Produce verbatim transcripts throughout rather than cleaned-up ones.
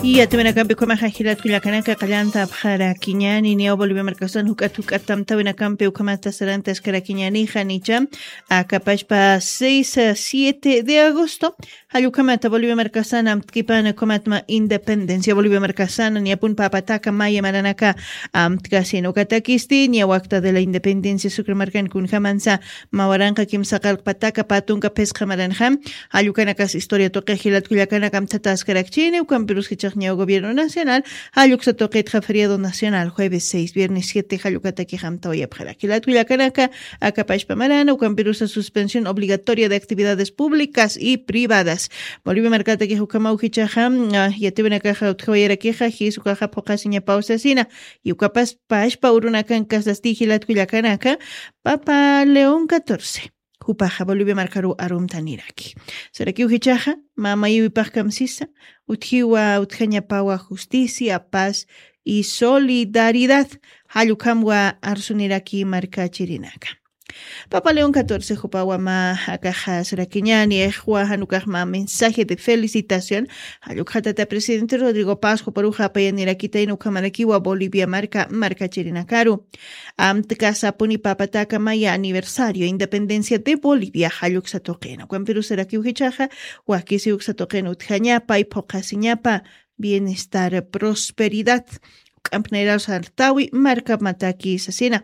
Yatiwinakampi ukhamaxa jilatkullakanaka qallanta apxarakiñani niyaw Bolivia markasan juk'at juk'at tamtawinakampi ukhamata sarantaskarakiñanixa nicha akapashpa seis siete de agosto. Jallukhamata Bolivia markasan amtkipana ukhamatma independencia Bolivia markasan niyapun papataka maya maranaka amtkasin ukatakisti niya wakta de la independencia sukra markan kunjamansa mawaranqa kimsa qalqpataka patunka phisqa maranxa. Jallukanakas historia tuqi jilatkullakanaka amtataskarakchini ukampirus jichaq ñaw gobierno nacional. Jalluksa tuqitxa feriado nacional jueves seis viernes siete jallukataki jamtawayapxarak jilatkullakanaka akapashpa marana ukampirusa suspensión obligatoria de actividades públicas y privadas. Bolivia markataki jukamaw jichaxa yatiwinakaxa utjawayarakixa jisukaxa phuqasiñapaw sasina. Y ukapas pashpa urunakan kasasti jilatkullakanaka papa león catorce jupaxa bolivia markaru arumtaniraki. Sarakiw jichaxa mamayiwipax kamsisa utjiwa utjañapawa justicia paz y solidaridad. Jallukhamwa arsuniraki markachirinaka. Papa león catorce jupawa ma akaxa sarakiñani ixwa janukaxma mensaje de felicitación. Jallukxatata presidente rodrigo paz juparuxa apayanirakitayna ukhamarakiwa bolivia marka markachirinakaru amtkasapuni papataka maya aniversario independencia de bolivia jalluksa tuqina ukampirusarakiw jichaxa wakisiwksa tuqina utjañapa y phuqasiñapa bienestar prosperidad. Uk'ampnayraw sartawi markamataki sasina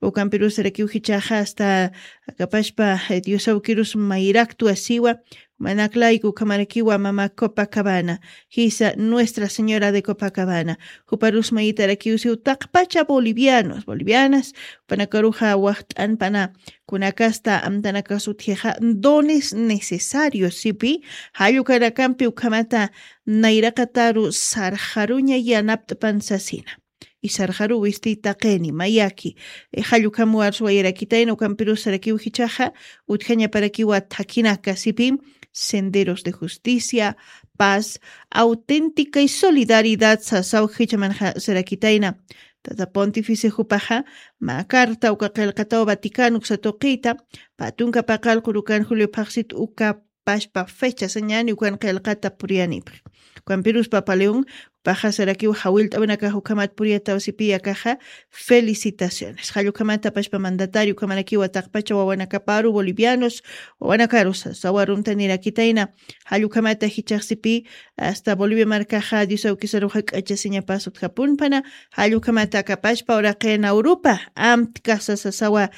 ukampirusarakiw jichaxa asta akapashpa diosawkirus mayraktu asiwa manaklayku ukhamarakiwa mama copacabana jisa nuestra señora de copacabana juparus mayitarakiwsiw taqpacha bolivianos bolivianas jupanakaruxa waxt'anpana kunakasta amtanakas utjixa dones necesarios sipi jallukanakampi ukhamata nayraqataru sarxaruña yanapt'pan sasina. Y sarxaru wisti taqini mayaki jallukhamuwarsuwayarakitayna ukampirusarakiw jichaxa utjañaparakiwa thakhinaka sipi senderos de justicia paz auténtica y solidaridad sasaw jichamanxa sarakitayna. Tata pontifice jupaxa mä carta uka qillqataw vaticano uksa tuqita pä tunka paqallqu rukan julio phaqsit uka pashpa fecha sañani ukan qillqata puriyanipxi. Ukampirus papa león jupaxa sarakiw jawillt'awinakax ukhamat puriyataw sipiya akaxa felicitaciones jallukhamata pashpa mandatario ukhamarakiwa taqpacha wawanakaparu bolivianos wawanakaru sasaw arumtanirakitayna. Jallukhamata jichaxsipi asta bolivia markaxa diosawkisaruxa k'achasiñapas utjapunpana jallukhamata akapashpa uraqina urupa amtkasa sasawa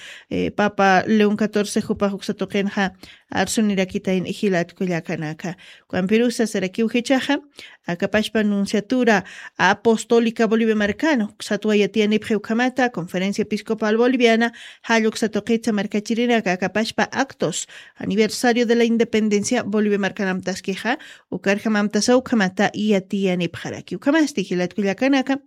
papa león catorce jupax uksa tuqinxa arsunirakitayn jilatkullakanaka. Ukampirusa sarakiw jichaxa akapashpa nunciatura apostólica bolivia markana uksatwa yatiyanipxi ukhamata conferencia episcopal boliviana jalluksa tuqitsa markachirinaka akapashpa actos aniversario de la independencia bolivia markanamtaskixa ukarjamamtasa ukhamata yatiyanipxaraki ukhamasti jilatkullakanaka.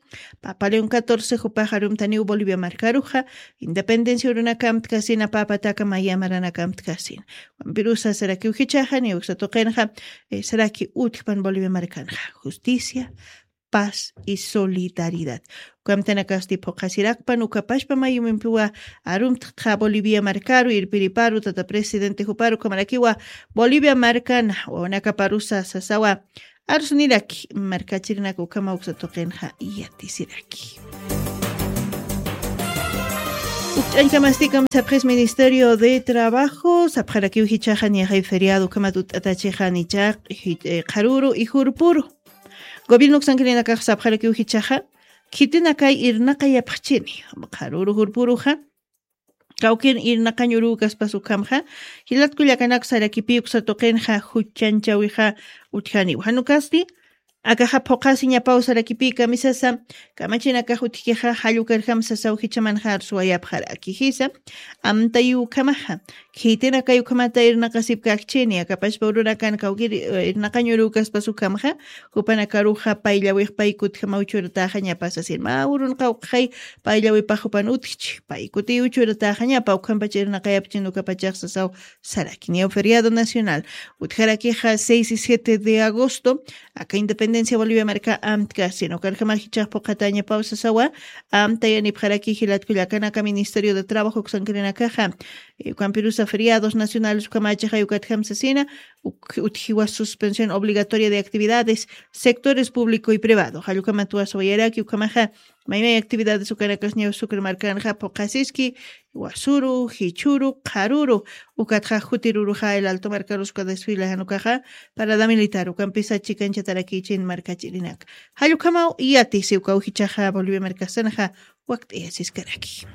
Papa león catorce jupax arumtaniw bolivia markaruxa independencia urunakamtkasin apapataka maya maranakamtkasin. Wampirusa sarakiw jichaxa niwksa tuqinxa saraki utjpan bolivia markanxa justicia paz y solidaridad. Ukamtanakasti phuqasirakpan ukapashpa mayumimpiwa arumtqa bolivia markaru irpiriparu tata presidente juparu ukhamarakiwa bolivia markan wawanakaparusa sasawa arsuniraki markachirinaka ukhama uksa tuqinxa yatisiraki. Ukch'añkamastikam sapxis ministerio de trabajo sapxarakiw jichaxa niyaxay feriado ukhamat ut'atachixa nichaq qharuru y jurpuru gobierno uksankirinakax sapxarakiw jichaxa khitinakay irnaqayapxchini qharuru jurpuruxa kawkin irnaqañ uruw kaspas ukhamxa jilatkullakanak sarakipi uksa tuqinxa juchanchawixa utjaniw janukasti akaxa phuqasiñapaw sarakipi kamisasa kamachinakax utjkixa jallukarjam sasaw jichamanxa arsuwayapxaraki jisa amtayukhamaxa khitinakay ukhamata irnaqasipkakchini akapashpa urunakan kawkir irnaqañ uruw kaspas ukhamxa jupanakaruxa payllawix paykutjamaw churataxañapasasin mä urun qawqxay payllawipax jupan utjchi paykutiw churataxañapa ukhampach irnaqayapchin ukapachax sasaw sarakin yaw feriado nacional utjarakixa seis y siete de agosto aka independencia Independencia Bolivia marka amtkasina ukarjama jichax puqatañapaw sasawa. Amtayanipxaraki jilatkullakanaka Ministerio de Trabajo uksankirinakaxa, eh, ukampirusa feriados nacionales ukamachaxay ukatjam sasina, uk- utjiwa suspensión obligatoria de actividades, sectores público y privado jallukamat wasawayaraki ukamaxa. Maymay actividades ukanakas ñaw sucre markanxa puqasiski, wasuru, jichuru, qharuru, ukatxa jutiruruxa el alto markaruska desfila janukaxa, parada militar ukampisa chikanchatarakichin markachirinaka. Jallukamaw yatisi ukaw jichaxa Bolivia markasanxa. Wakt'iyasiskaraki.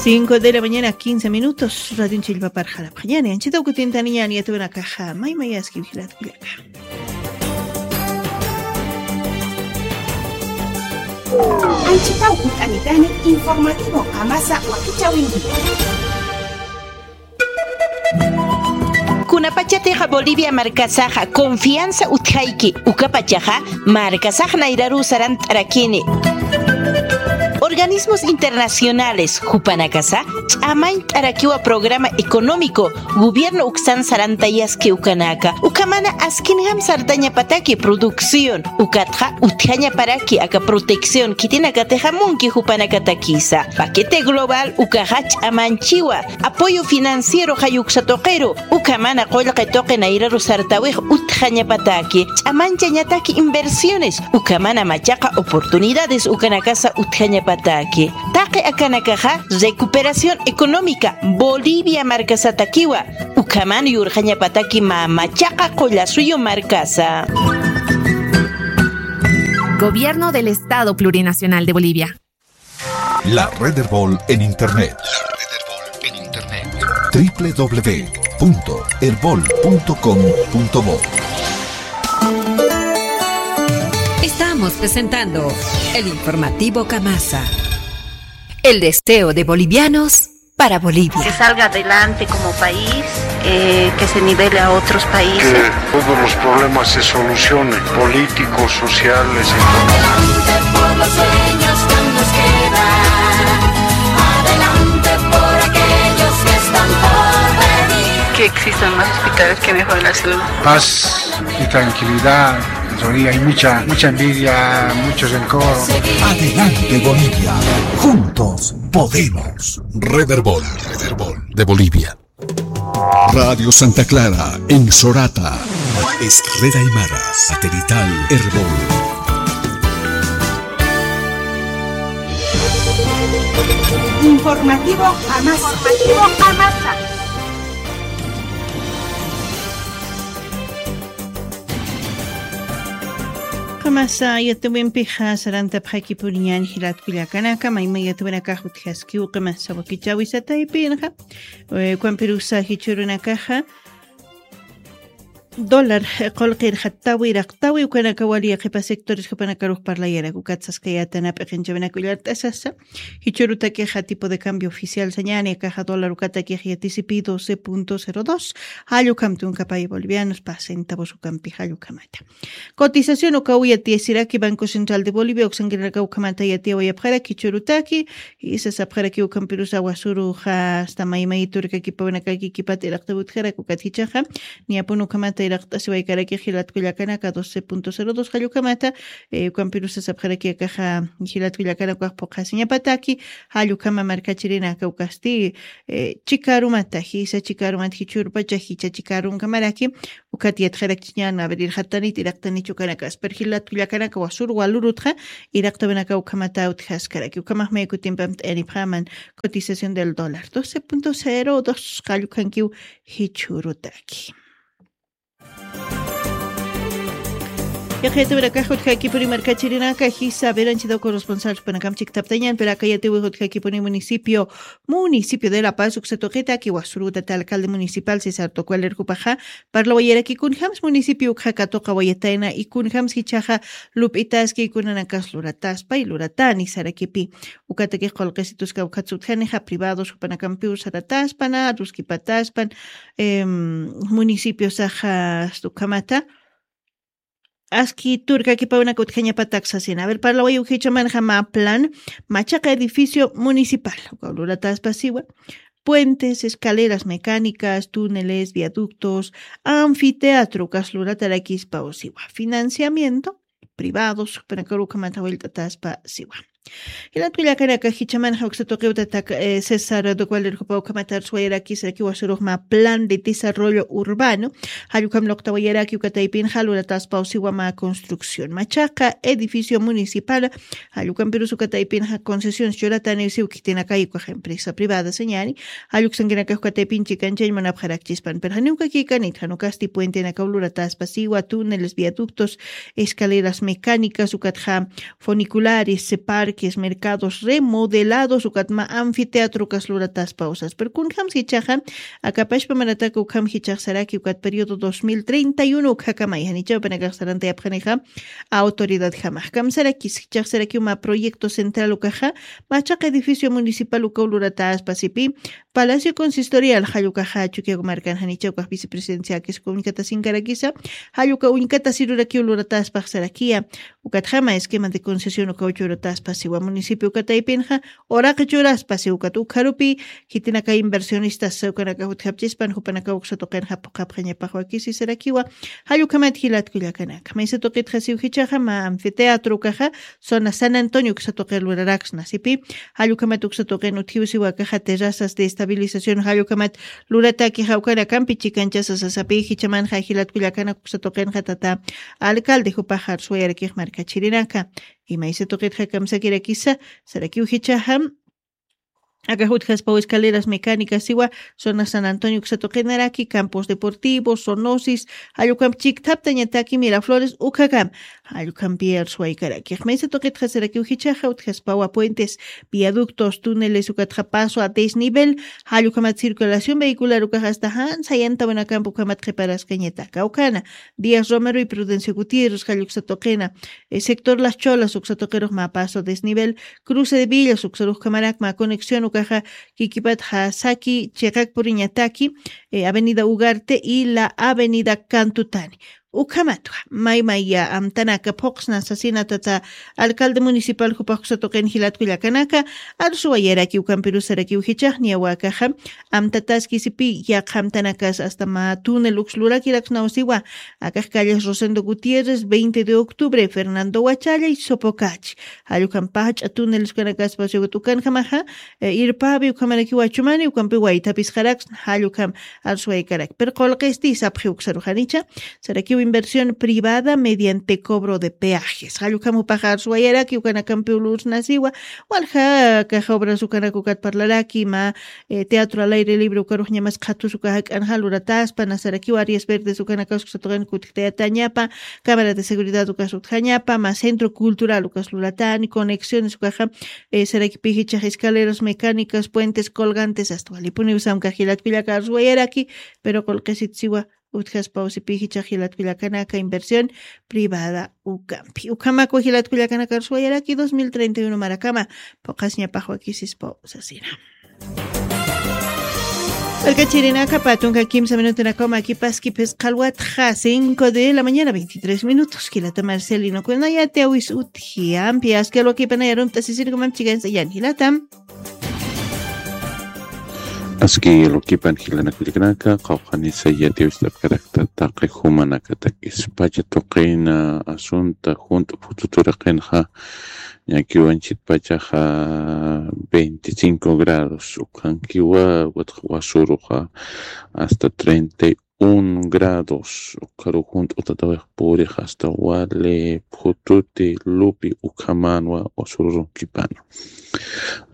Cinco de la mañana, quince minutos. Radion chillpaparxarapxañani anchita ukutintaniñani yatuwanakaxa maymayaski vigilatkullaka. Anchitaw kut'anitani informativo qamasa wakichawinki. Kunapachatixa Bolivia markasaxa confianza utjayki ukapachaxa markasax nayraru sarant'arakini. Organismos internacionales jupanakasa ch'amañt'arakiwa programa económico gobierno uksan sarantayaski ukanaka ukamana askinjam sartañapataki producción ukatxa utjañaparaki aka protección khitinakatixa munki jupanakatakisa paquete global ukaxa ch'amanchiwa apoyo financiero jayuksa tuqiru ukhamana qullqi tuqi nayraru sartawix utjañapataki ch'amanchañataki inversiones ukhamana machaqa oportunidades ukanakasa utjañapataki taqi akanakaxa recuperación económica bolivia markasatakiwa ukhaman yurxañapataki mä machaqa qullasuyu markasa. Gobierno del Estado Plurinacional de Bolivia. La Red Erbol en Internet. La Red Erbol en Internet. W W W punto erbol punto com punto bo. Estamos presentando el informativo Kamasa. El deseo de bolivianos para Bolivia. Que salga adelante como país, eh, que se nivele a otros países. Que todos los problemas se solucionen, políticos, sociales, económicos. Adelante por los sueños que aún nos quedan, adelante por aquellos que están por venir. Que existan más hospitales que mejoren la salud. Paz y tranquilidad. Todavía hay mucha, mucha envidia, mucho rencor. Adelante Bolivia, juntos podemos. Red Erbol, Red Erbol de Bolivia. Radio Santa Clara en Sorata. Es Red Aymara, satelital Erbol. Informativo Amasa. Informativo Amasa. Qamasa yatuwimpixa sarantapxakipuniñan jilatkullakanaka mayma yatuwinakax utjaskiw qamasa wakichawisataypinxa. Eh, kwampirusa jichurunakaxa dólar, eh, qulqirxatawi raqtawi ukanaka wali qhipa sectores jupanakarux parlayarak ukatsaskayata nap'iqinchawinaka ullart'asasa. Jichurutakixa tipo de cambio oficial sañani akaxa dólar ukatakix yatisipi doce punto cero dos. Jallukhamti unkapay bolivianos pa centavos ukampi jallukhamata. Cotización ukaw yatiyasiraki Banco Central de Bolivia uksankirinaka ukhamata yatiyawayapxaraki jichurutaki. Jisa sapxaraki ukhampirusa wasuruxa asta maymayturkakipawinakaki kipata iraqtawitxaraki ukat jichaxa. Niyapun ukhamata iraqt'asiwaykaraki jilatkullakanaka doce punto cero dos jallukhamata. Eh, ukhampirusa sapxaraki akaxa jilatkullakanaka ukax puqasiñapataki. Jallukhama markachirinaka ukasti, eh, chikarumata jisa chikarumata jichurpacha jicha chikarunkamaraki. Ukat yatxarakchiñan abrirxatanit iraqtanich ukanaka aspar jilatkullakanaka wasur walurutxa. Iraqtawinaka ukhamata utjaskaraki ukhamax maykutimpamt'ayanipxaman. Cotización del dólar doce punto cero dos qallukhankiw. Jichurutaki. Yaqhayatawirakax utjakipuni markachirinaka jisa beranchida corresponsal jupanakam chiktaptañan pero akayatiwi utjakipuni municipio municipio de La Paz uksatuqitaki wasurutata alcalde municipal César Tocualer jupaxa. Parlawayaraki kunjams municipio ukxa katuqawayatayna y kunjams jichaxa lup'itaski kunanakas lurataspa y luratani sarakipi. Ukatakix qulqisituska ukhatsutjanixa privados jupanakampiw sarataspana ruskipataspan. Em, municipiosaxa ukhamata aski turkakipawinaka utjañapatak sasina aver parlaway ukhichamanxa mä plan machaqa edificio municipal ukaw lurataspasiwa. puentes, escaleras mecánicas, túneles, viaductos, anfiteatro, ukas luratarakispaw siwa. Financiamiento privados, jupanakaru ukhamat jawillt'ataspa siwa. Jilat kullakanaka, jichhamanxa uksa tuqiw tata, eh, César Duque Valer jupaw ukhamat arswayarakisarakiwa, sarux mä plan de desarrollo urbano, jall ukham luqtawayaraki uka taypinxa lurataspaw siwa mä construcción. Machaqa edificio municipal, jall ukampirus uka taypinxa concesión churataniw siw khitinakay ukax empresa privada sañani, jall uksankinakax uka taypin chikanchañ munapxarakchispan. Pero janiw kakikanit, jan ukasti puentenakaw lurataspa siwa, túneles, viaductos, escaleras mecánicas, ukatxa funiculares, parques, mercados remodelados, ukat mä anfiteatro ukas lurataspa usas. Pero kunjams jichhaxa, akapashpa maratak ukham jichhax saraki, ukat periodo dos mil treinta y uno ukhakamay, janichaw panakax sarantayapxanixa autoridad jamax. Kamsarakis jichhax saraki uma proyecto central ukaxa, machaqa edificio municipal ukaw lurataspa sipi, Palacio Consistorial, jall ukaxa Chukiyawu markan janicha ukax vicepresidencia akis uka uñkatasinkarakisa, jall uka uñkatasirurakiw lurataspax sarakiya, ukatjama esquema de concesión ukaw churataspa siwa. Municipio uka taypinxa, uraqi churaspa siw, ukat ukharupi, khitinaka inversionistas ukanaka jutjapchispan, jupanaka uksa tuqinxa phuqhapxañapax wakisi sarakiwa, jall ukhamat jilat kullakanaka. Maysa tuqitxa siw jichhaxa, mä anfiteatro ukaxa, zona San Antonio uksa tuqir luraraksna sipi, jall ukhamat uksa tuqin utjiw siwa akaxa terrazas de estabilización, jall ukhamat luratakixa ukanakampi chikanchasa sasapi, jichhamanxa jilat kullakanak uksa tuqinxa tata alcalde jupax arswayarakix markachirinaka. Imaysa tuqitxa kamsakirakisa, sarakiw jichhaxa, akax utjaspaw escaleras mecánicas siwa, zona San Antonio uksa tuqinaraki, campos deportivos, zoonosis, jall ukham chikthaptañataki Miraflores ukhakam, jall ukhampi arswaykarakix. Maysa tuqitxa sarakiw jichhaxa, utjaspawa puentes, viaductos, túneles, ukatxa paso a desnivel, jall ukhamat circulación vehicular ukax hasta jan sayantawinakampi ukhamat qhiparaskañataka. Ukhana, Díaz Romero y Prudencio Gutiérrez, jall uksa tuqina, eh, sector Las Cholas uksa tuqirux mä paso desnivel, cruce de villas uksarux ukhamarak mä conexión ukaxa, kikipatxa saki chiqak puriñataki, eh, avenida Ugarte y la avenida Cantutani. Ukhamatwa, maymaya amtanaka phuqsna sasina tata alcalde municipal jupax uksa tuqin jilat kullakanaka, arsuwayaraki ukampirus sarakiw jichhax, niyawa akaxa, amtataski sipi, yaqha amtanakas hasta mä túnel uks lurakiraksnaw siwa, akax calles Rosendo Gutiérrez, veinte de octubre, Fernando Huachalla y Sopocachi. Jall ukham pach'a túneles ukanakaspa siwa, ukanjamaxa, eh, irpapi ukhamarakiwa chumani, ukampi waythapisqaraksna, jall ukham arswaykarak. Pero qullqisti sapxi uksaruxanicha, sarakiw inversión privada mediante cobro de peajes. Jall ukham jupax arswayaraki, ukanakampiw lursna siwa, walja kax obras ukanak ukat parlaraki, mä, eh, teatro al aire libre ukarux ñamas qhatus uka jak'anxa lurataspa, na sarakiw áreas verdes ukanakas uksa tuqin kutjtayatañapa, cámara de seguridad ukas utjañapa, mä centro cultural ukas luratani, conexiones ukaxa, eh, sarakipi jichhax escaleras mecánicas, puentes colgantes, hasta walipuniw samkax jilat kullaka arswayaraki, pero qullqisit siwa, utjaspaw sipi jichhax jilat kullakanaka inversión privada ukampi. Ukhamakwa jilat kullakanaka arswayaraki dos mil treinta y uno marakama, phuqhasñapax wakisispaw sasina. Markachirinaka, pä tunka kimsa minutunakaw makipaski phisqa alwatxa, cinco de la mañana, veintitrés minutos. Jilata Marcelino Cuellar, yatiyäwis utji, ampi aski alwakipanay arunt'asisirkumam chikansa yan jilata. Aski alwakipan jilanaka kullakanaka, qawqhanisa yatiyäwist'apkarakta taqi jumanakatakis. Pacha tuqina asunta junt'u phututuraqinxa, ñakiwanchit pachaxa veinticinco grados, ukhankiwa, watx wasuruxa hasta treinta y un grados, ukharu junt'u tatawix purix hasta wali phututi lupi ukhamanwa wasururunkipan.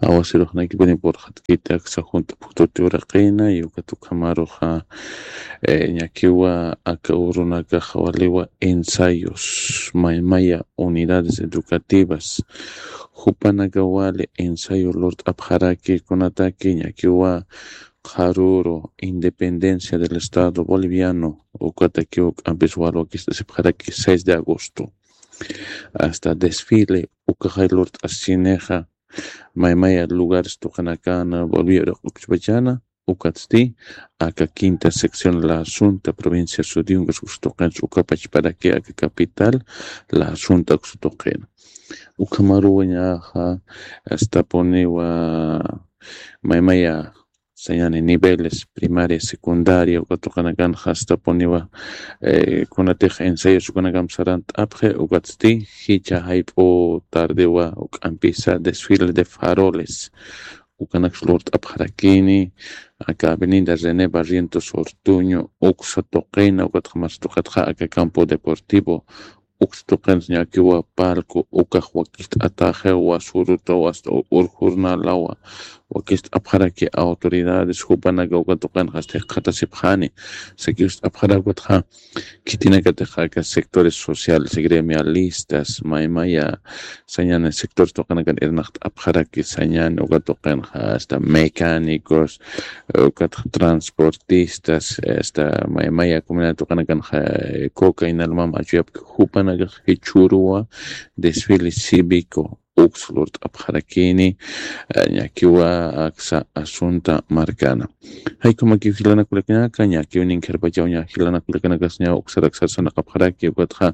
Awasiruxnakipuni purxatkita aksa junt'u phututi uraqina, y ukat ukhamaruxa, eh, ñakiwa aka urunakaxa waliwa ensayos, maymaya unidades educativas, jupanaka wali ensayo lurt'apxaraki kunataki ñakiwa qharüru Independencia del Estado Boliviano, ukatakiw k'ampis wal wakist'asipxaraki seis de agosto. Hasta desfile ukaxay lurt'asinixa, maymaya lugares tuqinakana Bolivia uraq'ukchpachana, ukatsti aka quinta sección La Asunta, provincia Sudiyungas uksa tuqinsa, ukapachparaki aka capital La Asunta uksa tuqina. Ukhamaruwañaxa, hasta puniwa maymaya sañani niveles primaria, secundaria, uka tuqinakan jastapuniwa, eh, kunatix ensayos ukanakamp sarant'apxi, ukatsti jicha jayp'u tardewa uk'ampisa desfile de faroles. Ukanaksa lurt'apxarakini, aka Avenida René Barrientos Ortuño, uksa tuqina, ukatxa mas tuqitxa aka campo deportivo, uksa tuqinsa ñakiwa palco, ukax wakist'ataxiwa, surutawa, hasta urjurnalawa, wakist'apxaraki autoridades, jupanaka uka tuqinxa jikxatasipxani, sakiwst'apxarakutxa, khitinakatix aka sectores sociales, gremialistas, maymaya, sañani sectores tuqinakan irnaqt'apxaraki, sañani uka tuqinxa, hasta mecánicos, ukat transportistas, hasta maymaya comunidad tuqinakanxa, eh, coca inalmam achuyapki, jupanakax jichhüruwa desfile cívico uksa lurt'apxarakini, eh, ñakiwa aksa asunta markana. Jaykumakiw jilanaka kullakanaka, ñakiw ninkharpachaw ña jilanaka kullakanakasa ña uksaraksar sarnaqapxaraki, ukatxa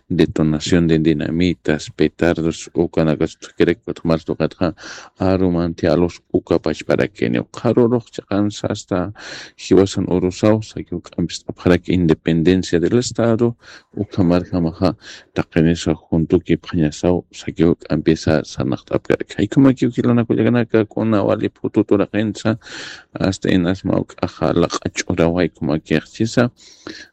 detonación de dinamitas, petardos, ukanakas tukirak, ukatxa mas tuqitxa arumanti alus uka pachparakini. Qharürux chiqansa hasta jiwasan urusaw, sakiw k'ampist'apxaraki independencia del Estado, ukhamarjamaxa taqinisa juntukipxañasaw, sakiw k'ampisa sarnaqt'apkaraki. Jaykumakiw jilanaka kullakanaka, kuna wali phutut uraqinsa, hasta inas mawk'axa laq'a ch'uraw jaykumakixchisa,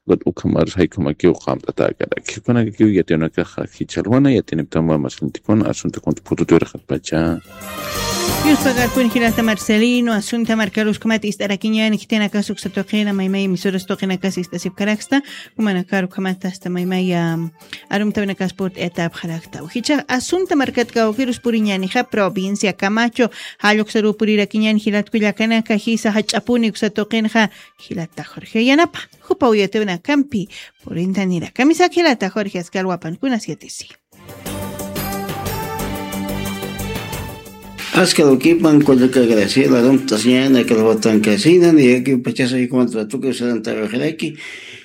ukat ukhamarus jaykumakiw qamt'atäkaraki. Ukanakakiw yatiyunakaxa jichhalwana, yatiyuniptama masintikuna, asunta juntu phutut uraqatpacha. Yuspagarpuni jilata Marcelino, asunta markarus ukhamat ist'arakiñäni, khitinakas uksa tuqina, maymay emisoras tuqinakas ist'asipkaraksta, jumanakar ukhamat hasta maymay, am, arumtawinakas purt'ayatapxaraktaw. Jichhax asunta markat kawkirus puriñänixa, provincia Camacho, jall uksaruw purirakiñäni jilat kullakanaka, jisa jach'apuni uksa tuqinxa, jilata Jorge Yanapa, jupaw yatiyunakampi purintanira. Kamisaki jilata Jorge, askar wapankunas yatisi. Askar wakipan kullaka Graciela, arumt'asiñäni aka alwatankasina, niyaki pachasa jaykumat ratuki usarantawiqiraki,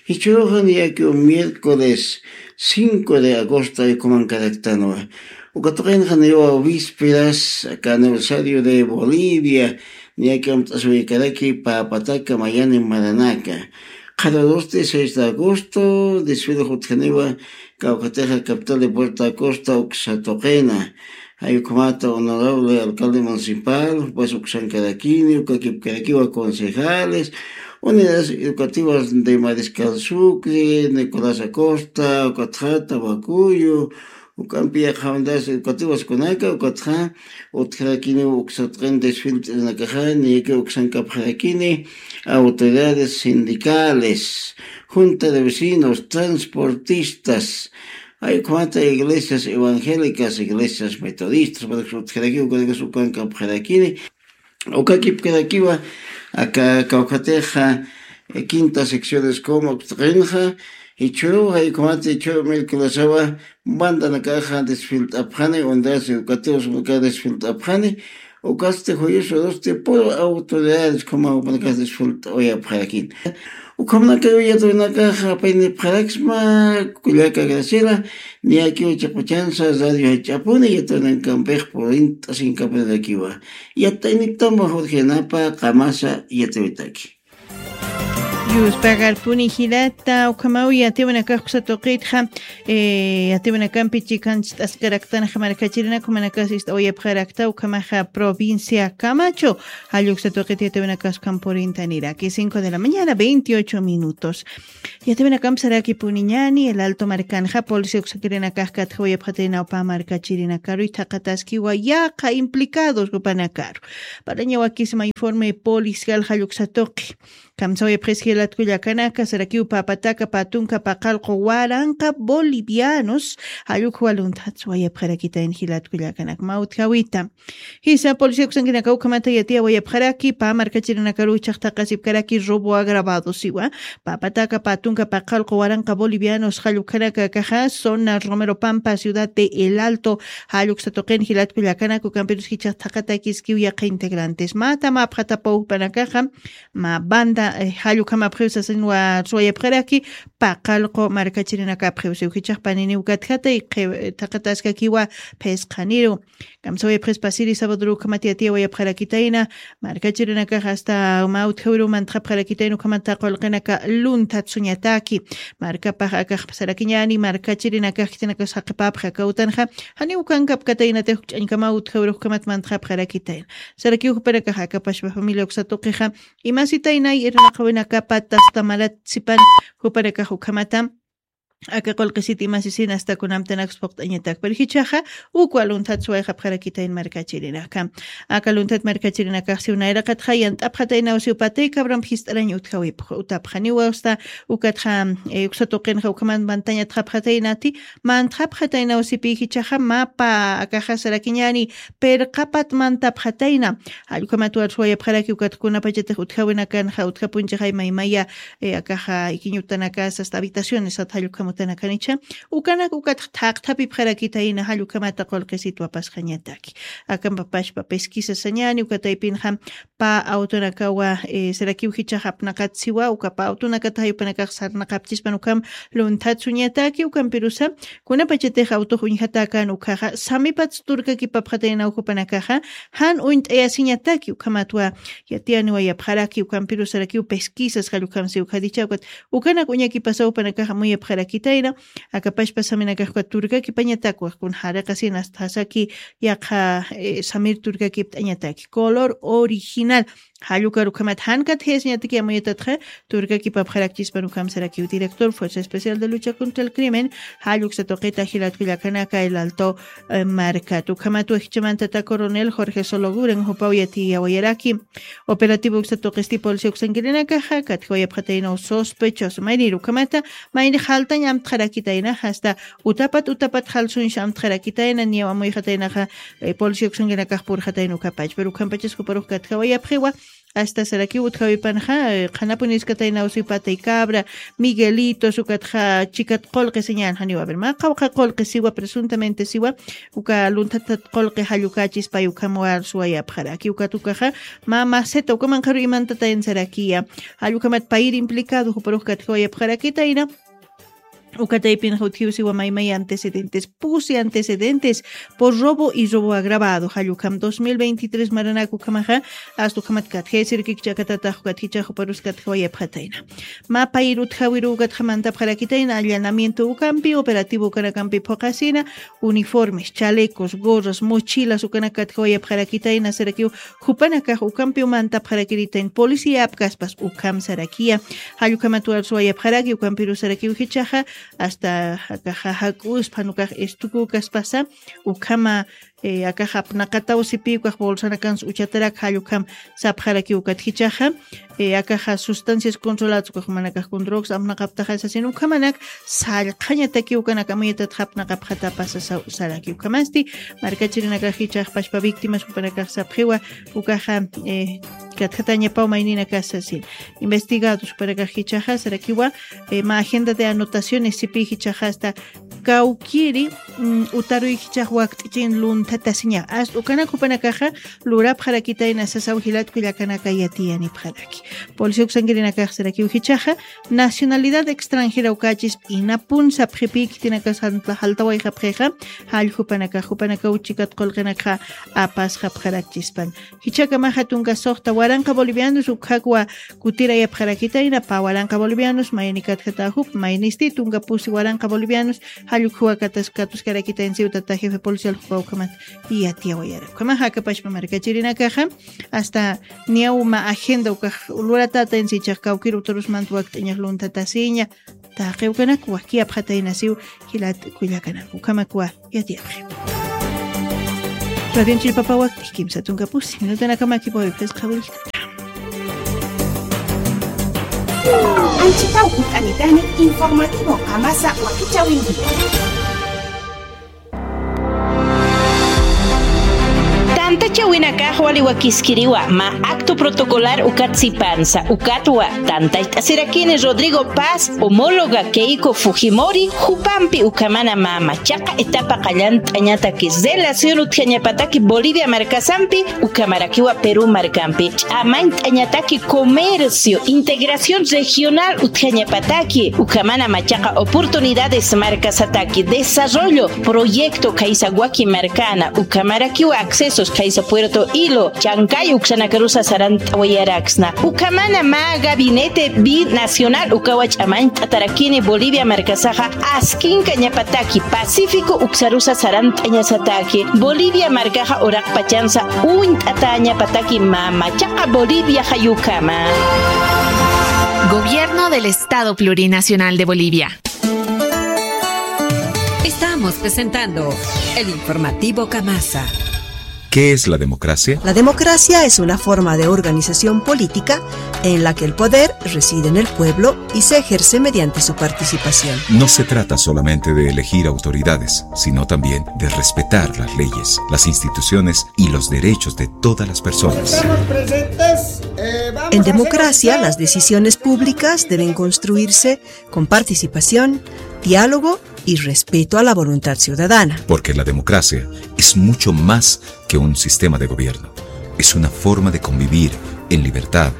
jichhüruxa niyaki miércoles cinco de agosto jaykumankaraktanwa. Uka tuqinxa niwa vísperas, aka aniversario de Bolivia, niyaki amt'asiwaykaraki pä pataka mayani maranaka. Qharürusti seis de agosto, desfile utjaniwa, kawkhatixa capital de Puerto Acosta, uksa tuqina. Jay ukhamata honorable alcalde municipal, jupas uksankarakini, ukakipkarakiwa concejales, unidades educativas de Mariscal Sucre, Nicolás Acosta, ukatxa Tabacuyo, uk'ampi yaqha unidades educativas kunaka, ukatxa utjarakini uksa tuqin desfile t'irnakaxa, niyaki uksankapxarakini autoridades sindicales, junta de vecinos, transportistas, jay ukhamata iglesias evangélicas, iglesias metodistas, para que utjarakiw, ukanakas ukankapxarakini, ukakipkarakiwa, aka kawkhatixa, eh, quinta secciones como tuqinxa, jichhüruw jay ukhamata jichhüru miércolesawa, bandanakaxa desfilt'apxani, unidades educativas uka desfilt'apxani, ukasti juyusurusti puro autoridades ukhama jupanakax desfilt'awayapxarakini. Ukhamanakaw yatiyunakaxa apaynipxaraksma, kullaka Graciela, niyakiw chiquchansa radio jach'apuni, yatiyunakampix purint'asinkapxarakiwa. Yatiyuniptama Jorge Yanapa, qamasa yatiyutaki. Yuspagarpuni jilata, ukhamaw yatiyunakax uksa tuqitxa, eh, yatiyunakampi chikanchist'askaraktanxa markachirinaka, jumanakas ist'awayapxarakta, ukhamaxa provincia Camacho, jall uksa tuqit yatiyunakas ukham purintaniraki, cinco de la mañana, veintiocho minutos. Yatiyunakamp sarakipuniñäni, El Alto markanxa, policía uksakirinakax katjawayapxatirinaw pä markachirinakaru, thaqataskiwa yaqha implicados jupanakaru. Parlañawakisma informe policial jall uksa tuqi. Kamsawayapxis jilat kullakanaka, sarakiw pä pataka pä tunka pä qallqu waranqa bolivianos, jall ukha walunthats wayapxarakitayn jilat kullakanaka. Mä utjawita. Jisa policía uksankinakaw ukhamata yatiyawayapxaraki, pä markachirinakaru jichhax thaqasipkaraki robo agravado siwa. Pä pataka pä tunka pä qallqu waranqa bolivianos jall ukhanaka akaxa, zona Romero Pampa, ciudad de El Alto, jall uksa tuqin jilat kullakanaka, ukampirus jichhax thaqatakiskiw yaqha integrantes. Mä tama apxatapaw jupanakaxa, mä banda, eh, jall ukhama apxiw sasinwa suwayapxaraki, paqallqu markachirinakapxiw siw jichhax paniniw katjatay, thaqataskakiwa phisqhaniru. Kamsawayapxis pasiri sabaduru ukhamat yatiyawayapxarakitayna, markachirinakax hasta mä utjawiru mantxapxarakitayna ukhamat qullqinaka lunthat suñataki. Markapax akax sarakiñani markachirinakax khitinakax saqipapxa kawtanxa, janiw kankapkataynatix ch'añkama utjawiru ukhamat mantxapxarakitayna. Sarakiw jupanakax akapashpa familia uksa tuqixa, imasitaynay irnaqawinakapat asta marat sipan jupanakax ukhamata, aka qullqisit imasisin asta kunamtanakus puqt'añatak. Pero jichhaxa, ukwa lunthat suwayxapxarakitayn markachirinaka. Aka lunthat markachirinakax siw nayraqatxa yant'apxataynaw siw patay cabramp jist'arañ utjawipx, utapxaniwa asta, ukatxa, eh, uksa tuqinxa ukhaman mantañatxapxataynati, mantxapxataynaw sipi jichhaxa mapa akaxa sarakiñani, pirqapat mantapxatayna. Jallukhamat warsuwayapxaraki ukat kunapachatix utjawinakanxa, utjapunchixay maymaya, eh, akaxa ikiñutanakas, hasta habitaciones, sat jallukhamutanakanicha. Ukanak ukat thaqthapipxarakitayna jallukhamata qullqisitwa pasxañataki. Akampa pashpa pesquisa sañani, ukataypinxa pä awtunakawa, eh, sarakiw jichhax apnaqat siwa, uka pä awtunakata jayupanakax sarnaqapchispan ukham lunthat suñataki, ukampirusa, kunapachatix awtux uñjatäkän ukhaxa, samipats turkakipapxataynaw jupanakaxa, jan uñt'ayasiñataki, ukhamatwa yatiyaniwayapxaraki, ukampiru sarakiw pesquisas jallukhamsi ukhadicha, ukat ukanak uñakipasaw jupanakax amuyapxarakitayna, akapashpa saminakax ukat turkakipañatakwa, kun jariqasin asta jasaki yaqha, eh, samir turkakipt'añataki. Color original. Jallukar ukhamat jan katjayasiñataki amuyatatxa, turkakipapxarakchispan ukham sarakiw director Fuerza Especial de Lucha contra el Crimen, jalluk uksa tuqita jilat kullakanaka El Alto, eh, markat. Ukhamat wajchamantata coronel Jorge Sologuren jupaw yatiyawayaraki. Operativo uksa tuqisti policía uksankirinakaxa, katjawayapxataynaw sospechoso. Maynir ukhamata, mayni jaltañ amtxarakitayna, hasta utapat utapat jalsunsh amtxarakitayna, niyaw amuyxataynaxa, eh, policía uksankirinakax purxatayna ukhapach. Pero ukhampachas juparux katjawayapxiwa, hasta sarakiw utjawipanxa, eh, qhanapuniskataynaw siw patay cabra, Miguelitos, ukatxa chikat qullqi siñan janiw, a ver, mä qawqha qullqi siwa, presuntamente siwa, uka lunthatat qullqi jallukächispay ukham warsuwayapxaraki, ukat ukaxa, mä maceta, ukamanqaru imantatayna sarakiya, jallukhamat payir implicado, juparux katjawayapxarakitayna, ukataypinxa utjiw siwa maymay antecedentes, pusi antecedentes por robo y robo agravado. Jallukham dos mil veintitrés maranak ukhamaxa, asta ukhamat katjay sirkikchakatatax ukat jichhax juparus katjawayapxatayna. Mä payir utjawiru ukatxa mantapxarakitayna allanamiento ukampi, operativo ukanakampi phuqasina, uniformes, chalecos, gorras, mochilas ukanak katjawayapxarakitayna sarakiw, jupanakax ukampiw mantapxarakiritain policía apkaspas ukham sarakiya. Jallukhamat warsuwayapxaraki, ukampiru sarakiw jichhaxa, hasta akaxa jak'uspan ukax estukukaspasa, ukhama, eh, akaxa apnaqataw sipi ukax bolsanakans uchatarak jallukham sapxaraki ukat jichhaxa, eh, akaxa sustancias controladas ukax jumanakax kun drogas apnaqaptaxa sasin ukhamanak sallqhañataki ukanak amuyatatxa apnaqapxatapasa sa-, saraki ukhamasti, markachirinakax jichhax pashpa víctimas jupanakax sapxiwa, ukaxa, eh, katjatañapaw mayninakax sasin. Investigados jupanakax jichhaxa sarakiwa, eh, mä agenda de anotaciones sipi jichhaxa asta kawkiri, mm, utaruy jichhax wakt'ichin lunthatasiña. Asta ukanak jupanakaxa lurapxarakitayna sasaw jilat kullakanaka yatiyanipxaraki. Policía uksankirinakax sarakiw jichhaxa, nacionalidad extranjera ukächisp inapun sapxipi khitinakas jalta-, jaltawayxapxixa, jall jupanakax, jupanakaw chikat qullqinakxa apasxapxarakchispan. Jichhakamaxa tunka suxta waranqa bolivianos ukhakwa kutirayapxarakitayna, pä waranqa bolivianos, mayni katjata jup, maynisti tunka pusi waranqa bolivianos, jallukhuwa katas-, katuskarakitayna siw tata jefe policial jupa ukhamat yatiyawayara. Ukhamaxa akapashpa markachirinakaxa, asta niyaw mä agenda ukax luratätayna sichhax kawkir utarusmant wakt'añax lunthatasiña, taqi ukanak wakiyapxatayna siw jilat kullakanak. Ukhamakwa yatiyapxi. Radion Chillpapa wakt'i kimsa tunka pusi minutanakamakipaw phisqa willkata. Anchitaw utanitani informativo qamasa wakichawinki. Tantachawinakax wali wakiskiriwa mä acto protocolar ukat sipansa, ukatwa tantachasirakini Rodrigo Paz, homóloga Keiko Fujimori, jupampi ukhamana mä machaqa etapa qallant'añataki relación utjañapataki Bolivia markasampi, ukhamarakiwa Perú markampi ch'amañt'añataki comercio, integración regional utjañapataki, ukhamana machaqa oportunidades markasataki, desarrollo, proyecto khaysa waki markana, ukhamarakiwa accesos khaysa Puerto Hilo, Chancay uksanakarusa sarant'awayaraksna. Ukhamana mä gabinete binacional ukawa ch'amañt'atarakini Bolivia markasaxa askinkañapataki Pacífico uksarusa sarant'añasataki. Bolivia markaxa uraqpachansa uñt'atañapataki mä machaqa Bolivia jayukama. Gobierno del Estado Plurinacional de Bolivia. Estamos presentando el informativo Kamasa. ¿Qué es la democracia? La democracia es una forma de organización política en la que el poder reside en el pueblo y se ejerce mediante su participación. No se trata solamente de elegir autoridades, sino también de respetar las leyes, las instituciones y los derechos de todas las personas. Estamos presentes. Eh, vamos En a hacer democracia, oficial las decisiones públicas deben construirse con participación, diálogo y respeto a la voluntad ciudadana. Porque la democracia es mucho más que un sistema de gobierno. Es una forma de convivir en libertad,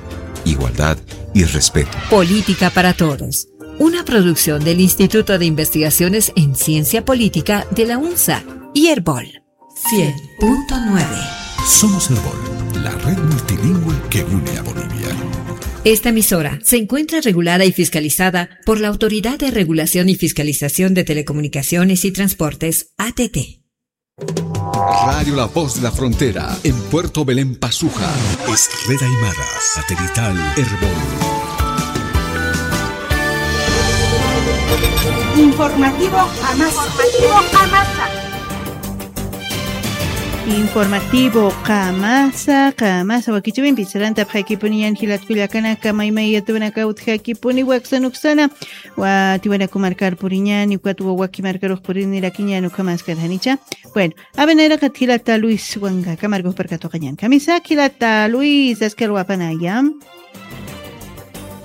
igualdad y respeto. Política para Todos, una producción del Instituto de Investigaciones en Ciencia Política de la UNSA y Erbol. Cien punto nueve. Somos Erbol, la red multilingüe que une a Bolivia. Esta emisora se encuentra regulada y fiscalizada por la Autoridad de Regulación y Fiscalización de Telecomunicaciones y Transportes, A T T. Radio La Voz de la Frontera, en Puerto Belén, Pazuja. Es red aymara, satelital, Erbol. Informativo Amasa. Informativo Amasa. Informativo Qamasa, Qamasa, wakichawimpi sarantapxaykipuniñan jilat kullakanaka, maymay yatuwanaka utjakipuni waksana uksana, wa tiwanaku markar puriñani, ukat wawaki markarux purinirakiñan ukhamaskar janicha. Bueno, a ver, nayraqat jilata Luis Wangaka markux parkatuqañan. Kamisa jilata Luis, askalwapanaya.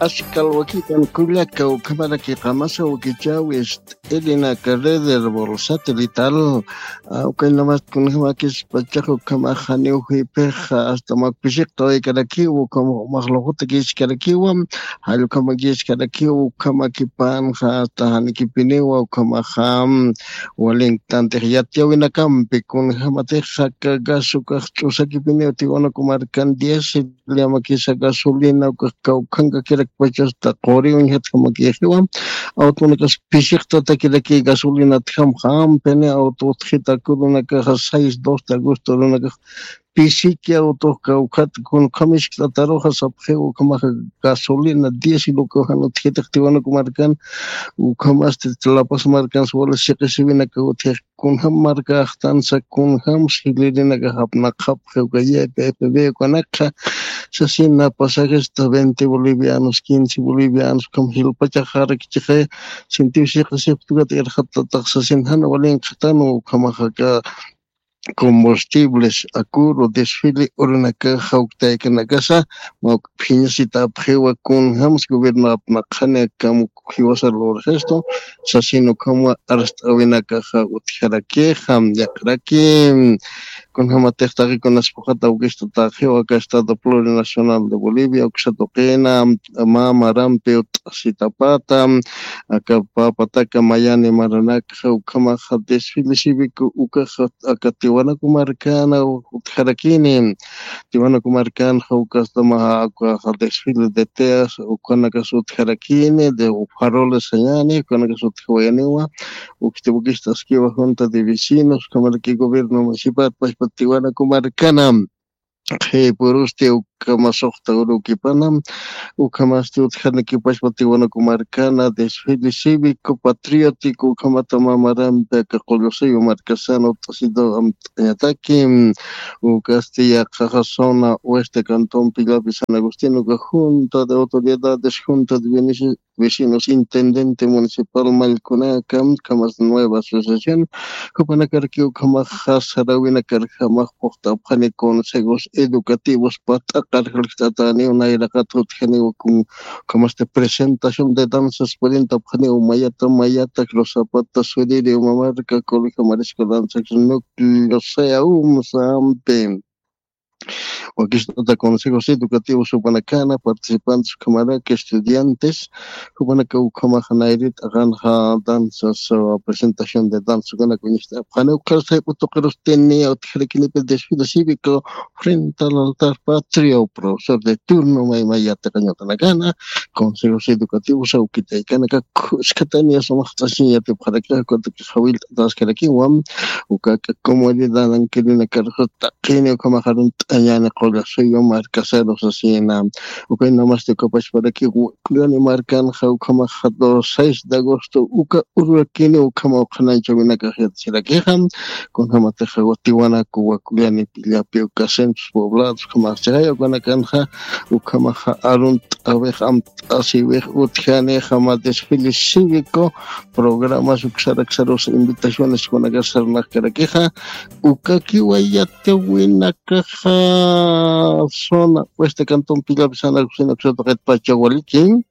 Askalwakipan kullaka, ukhamaraki Qamasa wakichäwis t'ilina carreder por satelital, ah, ukaynamast kunjamakis pachax ukhamax janiw juypix, hasta mak pisiqtawayarakiw, ukhamax luqutakichkarakiwa, jall ukhamakisarakiw, ukhamakipanxa hasta janikipiniwa, ukhamaxa, mm, walinktanti yatiyäwinakampi kunjamatix aka gas ukax ch'usakipiniw, Tiwanaku markan diésel llamakisa gasolina ukax kawkhankakirakpacha hasta quri uñjatjamakixiwa. Awtunakas pisiqtatakiraki gasolinatjamxa, ampini awtu utjita kurunakaxa seis, dos de agosto runakax pisiki awtux kawkhat, kunkhamisktatarux sapxiw ukhamaxa gasolina, diésel ukax jan utjitix Tiwanaku markan, ukhamasti La Paz markans wali siqisiwinaka utjix. Kunjam markaxtansa, kunjams jilirinakax apnaqapxi, uka Y P F B ukanakxa, sasina pasajes hasta veinte bolivianos, quince bolivianos, ukham jilpachaxarakchixi, sintiw siqisipxtukat irxatatax sasin jan walinkxtan, ukhamax aka combustibles, akuru, desfile urinakax jawktaykanakasa, mawk phiñasitapxiwa, kunjams gobierno apnaqxani akham jiwasa lurxistu, sasin ukhamwa arst'äwinakaxa utjarakixa, yaqharaki, kunjamatix taqi kunas puxata awkista taqxiw aka Estado Plurinacional de Bolivia, uksa tuqina, mä marampi ut'asitapata, aka pä pataka mayani maranakxa, ukhamaxa desfile cívico ukaxa aka Tiwanaku markana utjarakini. Tiwanaku markanxa ukastamaxa ukaxa desfile de teas ukanakas utjarakini, de faroles sañani, ukanakas utjawayaniwa, uksti wakista askiwa junta de vecinos, ukhamaraki gobierno municipal, pachpa Tiwanaku markana. Qhipurusti uk aka masuxta urukipana, ukhamasti utjanikipachpa Tiwanaku markana desfile cívico patriótico ukhamata mamarampi aka Qullasuyu markasana ut'asitu amt'añataki, ukasti yaqhaxa zona oeste cantón Pillapi San Agustín, uka junta de autoridades, junta de vecinos, intendente municipal, mallkunaka, ukhamas nueva asociación, jupanakarakiw ukhamaxa saräwinakarjamax phuqt'apxani consejos educativos pat'aqar jalk'atäniw nayraqat utjaniw kun, ukhamasti presentación de danzas purintapxaniw mayata mayata, Cruz Zapata, Suriri, Uma Marka, Colegio Marisco Danza, Núcleo Sea, umsa ampi. Wakist'ata consejos educativos jupanakana, participantes ukhamaraki, estudiantes, jupanaka ukhamaxa nayrit aqanxa danzas, uh, presentación de danza, ukanaka uñacht'apxani, ukxar sayp'u tuqirustini utjarakinipi desfile cívico frente al altar patrio, profesor de turno, maymay yatiqañ ukanakana, consejos educativos, awkitaykanaka, khuskatani sumaqt'asiñ yatipxaraki, ukataki jawillt'ataskarakiwa, ukaka comunidad ankirinakar taqini ukhamax arunt'añani Qullasuyu markasaru sasina. Ukaynamasti ukapachparaki Wakullani markanxa ukhamaxa dos seis de agosto uka ururakini ukhama uqhananchawinakax yatchirakixa. Kunjamatixa Tiwanaku, Wakullani, Pillapi, uka centros poblados ukhamax chayawkanakanxa ukhamaxa arunt'awix amt'asiwix utjani jama desfile cívico, programas uksaraksarusa invitaciones kunaka sarnaqkarakixa, ukakiwa yatiwinakaxa zona oeste cantón Pillapi San Agustín uksataqit pacha waliki.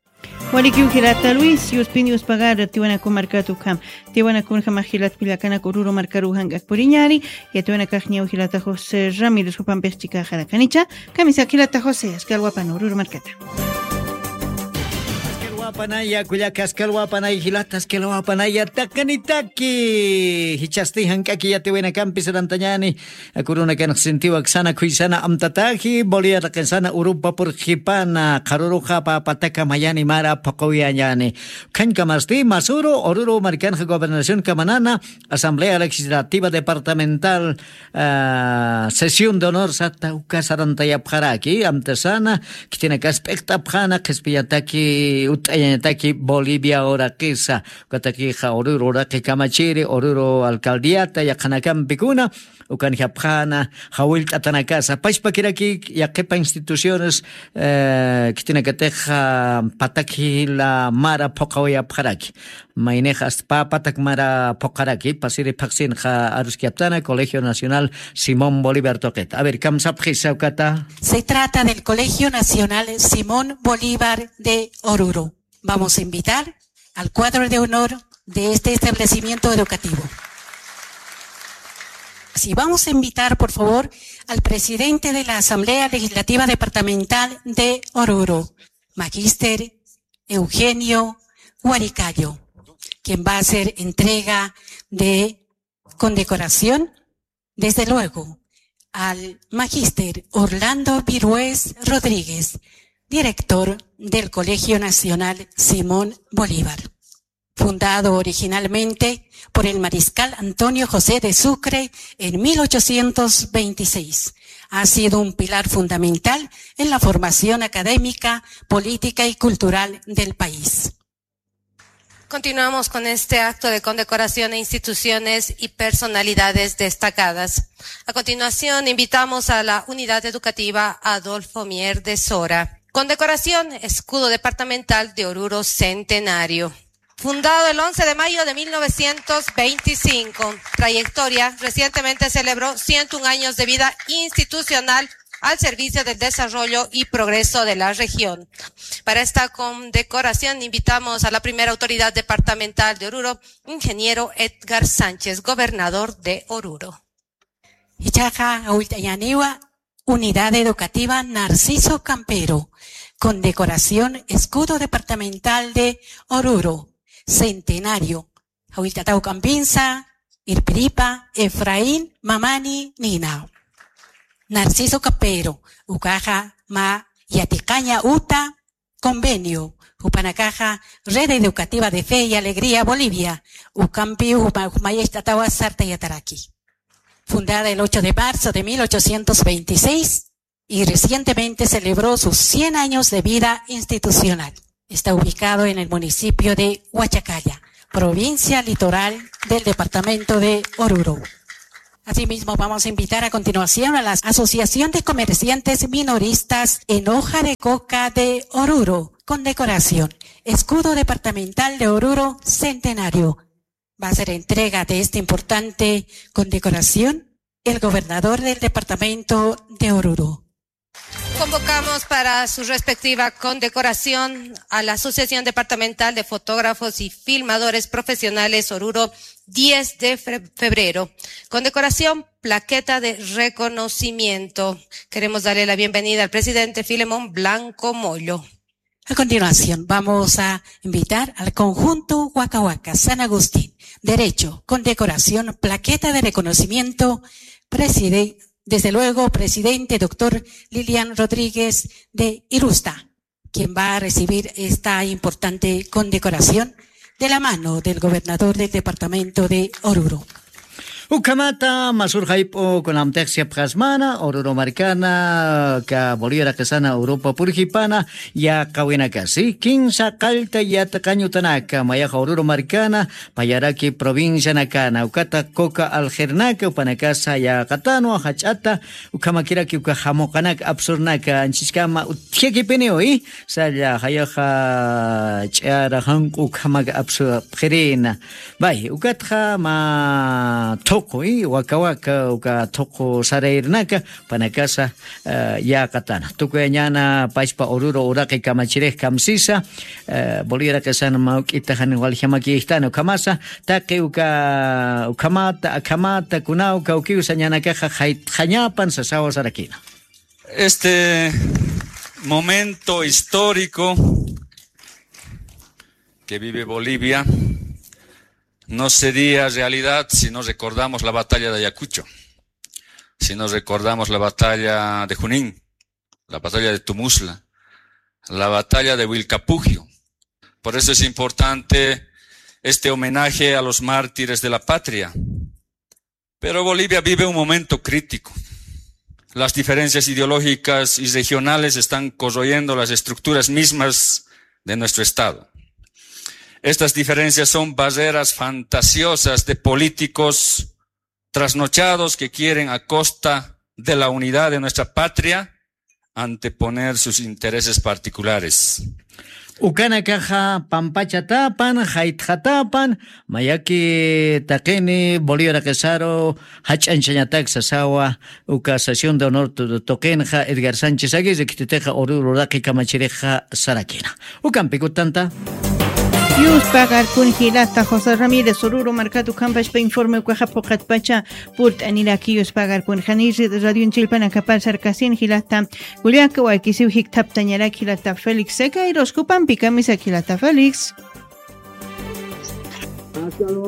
Walikiw jilata Luis, yuspin yuspagar Tiwanaku markat ukham. Tiwanakunjamax jilat kullakanak Oruro markaruw jank'ak puriñäni, yatiwanakax ñaw jilata José Ramírez jupampix chikaxarakanicha, kamisaki jilata José, askalwapan Oruro markata. Askalwapanaya kullaka, askalwapanaya jilata, askalwapanaya taqinitaki. Jichhasti jank'aki yatiwinakampi sarantañäni, kurunakanx sintiwa aksana khuysana amtataji, Bolivia taqisana Europa purqhipana, qharuruxa pä pataka mayani mara phuqawiyañäni. Ukhañkamasti masüru Oruro markanxa gobernación kamanana, Asamblea Legislativa Departamental, ah, sesión de honor sata uka sarantayapxaraki, amtasana, khitinakas p'iqt'apxäna, qhispiñataki, utt'ayañataki Bolivia uraqisa, ukatakixa Oruro uraqi kamachiri, Oruro alcaldiata, yaqhanakampikuna, ukanjapxäna, jawillt'atanakasa, pachpakiraki, yaqhipa instituciones, eh, khitinakatixa, patak jila mara phuqawayapxaraki. Maynix hasta pä patak mara phuqaraki, pasiri phaxsinxa aruskiyaptana, Colegio Nacional Simón Bolívar tuqita. A ver, kamsapxisa ukata. Se trata del Colegio Nacional Simón Bolívar de Oruro. Vamos a invitar al cuadro de honor de este establecimiento educativo. Sí, vamos a invitar, por favor, al presidente de la Asamblea Legislativa Departamental de Oruro, magíster Eugenio Huaricayo, quien va a hacer entrega de condecoración, desde luego, al magíster Orlando Virués Rodríguez, director del Colegio Nacional Simón Bolívar. Fundado originalmente por el mariscal Antonio José de Sucre en mil ochocientos veintiséis, ha sido un pilar fundamental en la formación académica, política y cultural del país. Continuamos con este acto de condecoración a instituciones y personalidades destacadas. A continuación, invitamos a la Unidad Educativa Adolfo Mier de Sora. Condecoración, Escudo Departamental de Oruro Centenario. Fundado el once de mayo de mil novecientos veinticinco. Trayectoria, recientemente celebró ciento un años de vida institucional al servicio del desarrollo y progreso de la región. Para esta condecoración invitamos a la primera autoridad departamental de Oruro, ingeniero Edgar Sánchez, gobernador de Oruro. Ichaqa, awilt'añäniwa, Unidad Educativa Narciso Campero, condecoración Escudo Departamental de Oruro, Centenario, jawillt'ataw k'ampinsa, irpiripa, Efraín Mamani nina. Narciso Campero, ukaxa mä yatiqaña uta convenio, jupanakaxa Red Educativa de Fe y Alegría Bolivia, ukampi jupa-, jumayacht'atawa sartayataraki. Fundada el ocho de marzo de mil ochocientos veintiséis, y recientemente celebró sus cien años de vida institucional. Está ubicado en el municipio de Huachacalla, provincia Litoral del departamento de Oruro. Asimismo, vamos a invitar a continuación a la Asociación de Comerciantes Minoristas en Hoja de Coca de Oruro, con decoración, escudo departamental de Oruro Centenario. Va a ser entrega de esta importante condecoración el gobernador del departamento de Oruro. Convocamos para su respectiva condecoración a la Asociación Departamental de Fotógrafos y Filmadores Profesionales Oruro, diez de fe- febrero. Condecoración, plaqueta de reconocimiento. Queremos darle la bienvenida al presidente Filemón Blanco Mollo. A continuación, vamos a invitar al conjunto Waka Waka San Agustín, Derecho, condecoración, plaqueta de reconocimiento, preside- desde luego, presidente doctor Lilian Rodríguez de Irusta, quien va a recibir esta importante condecoración de la mano del gobernador del departamento de Oruro. Ukhamata, masur jayp'u kunamtix yapxasmana, Oruro markana, ka Bolivia raqisana, Europa purjipana, yaqawinakasi, kinsa qallta yatqañutanaka, mayaxa Oruro markana, payaraki provincianakana, ukata Coca Algernaka, upanakasa yaqatanwa, jach'ata, ukhamakiraki uka jamuqanak apsurnaka, anchiskama utjakipiniwi, salla jayaxa ch'ara janq'u ukhamak apsu pxirina. Bay, ukatxa mä thuqu, i, waka waka, uka thuqu sarayrinaka, panakasa, eh, yäqatana. Tukuyañäna pachpa Oruro uraqi kamachirix kamsisa, eh, Bolivia raqisana mä juk'ita jan waljamakiktana ukhamasa, taqi uka, ukhamata, akhamata, kunaw kawkiw sañanakaxa jaytxañapan sasawa sarakina. Este momento histórico que vive Bolivia no sería realidad si no recordamos la batalla de Ayacucho, si no recordamos la batalla de Junín, la batalla de Tumusla, la batalla de Wilcapugio. Por eso es importante este homenaje a los mártires de la patria. Pero Bolivia vive un momento crítico. Las diferencias ideológicas y regionales están corroyendo las estructuras mismas de nuestro Estado. Estas diferencias son barreras fantasiosas de políticos trasnochados que quieren, a costa de la unidad de nuestra patria, anteponer sus intereses particulares. Ukanakaxa pampachatapan, jaytxatapan, mayaki taqini Bolivia raqisaru jach'añchañatak sasawa, uka sesión de honor tu-, tuqinxa Edgar Sánchez Aguirre, khititixa Oruro uraqi kamachirixa sarakina. Ukampi kutanta. Yuspagarkun jilata José Ramírez Oruro markat ukhampachpa informe ukaxa phuqatpacha purt'aniraki yuspagarkun. Jani radionchispanakapar sarkasin jilata Julián Kawakisiw jikthaptañarak jilata Félix Sequeiros, jupampi kamisaki jilata Félix.